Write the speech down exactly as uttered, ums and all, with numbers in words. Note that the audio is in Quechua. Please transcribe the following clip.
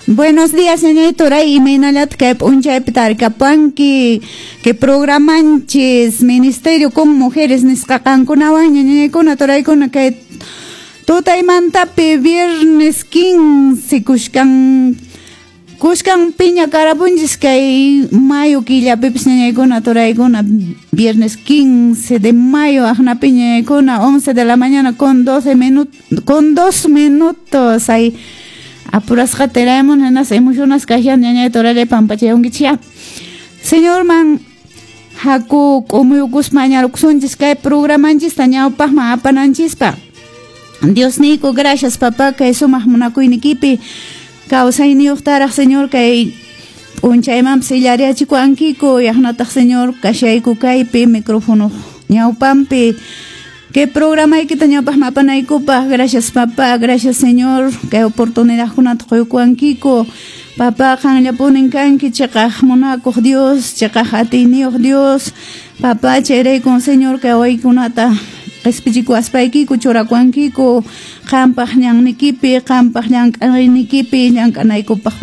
Buenos días, ñañay, turay, imaynallataq kay p'unchaypi tarikapanki que programanchis Ministerio con Mujeres nisqa qankunawan ñañaykuna turaykuna kay tutaymantapi viernes quince kushkan kushkan piña karapunchis kay mayo killapipis ñañaykuna turaykuna viernes quince de mayo aqnapi ñañaykuna once de la mañana con doce minutos con dos minutos hay apurasqa teramun hinas emocionas kashan ñañay turallay pampachayunkichya Señor man haku k'umuyukuspa mañarukusunchis kay programanchista ñawpaqman apananchispa. Dios niyku, gracias, papá, kay sumaq munakuynikipi kawsayniyuqtaraq, Señor, kay p'unchaymanpas illariachikuankiku yaqnataq, Señor, kashayku kaypi micrófono ñawpanpi que programaykita ñawpaqman apanaykupaq. Gracias, papá, gracias, Señor, kay oportunidadkunata quykuwankiku. Papá, qanllapunin kanki chiqaq munakuq Dios, chiqaq atiyniyuq Dios, papá. Chayraykun, Señor, kay waykunata qispichikuwaspaykiku churakuwankiku qampaq ñannikipi, qampaq llank'aynikipi llank'anaykupaq.